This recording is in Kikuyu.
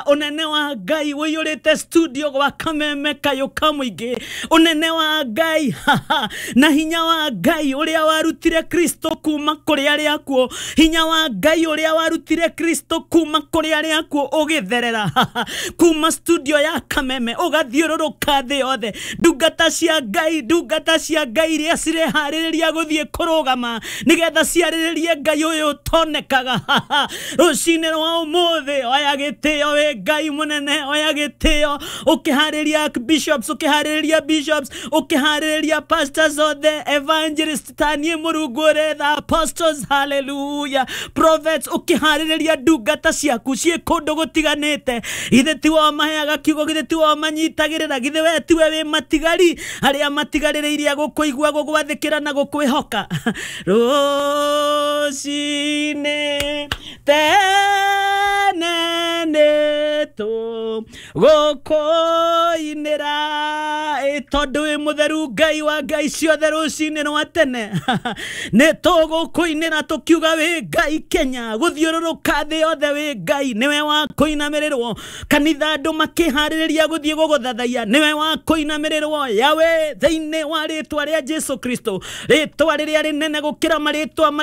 Ũnene wa Ngai ũiyũrĩte studio gwa Kameme kayũ ka mũingĩ. Ũnene wa Ngai na hinya wa Ngai ũrĩa warutire Kristo kuma kũrĩ arĩa akuũ, hinya wa Ngai ũrĩa warutire Kristo kuma kũrĩ arĩa akuũ ũgĩtherera kuma studio ya Kameme ũgathiũrũrũka thĩ yothe. Ndungata cia Ngai, ndungata cia Ngai iria cireharĩrĩria gũthiĩ kũrũgama nĩgetha ciarĩrĩrie Ngai ũyũ ũtonekaga rũcinĩ rwa ũmũthĩ. Oya gĩtĩo wĩ Ngai mũnene, oya gĩtĩo ũkĩharĩria bishops, ũkĩharĩrĩria bishops, ũkĩharĩrĩria pastors othe, evangelist taniĩ Mũrungu ũretha apostles, hallelujah, prophets, ũkĩharĩrĩria ndungata ciaku ciĩ kũndũ gũtiganĩte. Githĩ tiwe ũmaheaga kiugo? Githĩ tiwe ũmanyitagĩrĩra? Githĩ we tiwe wĩ matigari arĩa matigarĩrĩirie gũkũigua, gũgwathĩkĩra na gũkwĩhoka? Rũcinĩ tene nĩ tũgũkũinĩra, tondũ wĩ mũtheru, Ngai wa ngai ciothe. Rũcinĩ rwa tene nĩ tũgũkũinĩra tũkiuga wĩ Ngai. Kenya, gũthiũrũrũka thĩ yothe, wĩ Ngai, nĩwe wa kũinamĩrĩrwo. Kanitha, andũ makĩharĩrĩria gũthiĩ gũgũthathaiya, nĩwe wa kũinamĩrĩrwo yawe, thĩinĩ wa rĩtwa rĩa Jesu Kristo, rĩtwa rĩrĩa rĩnene gũkĩra marĩtwa marĩa.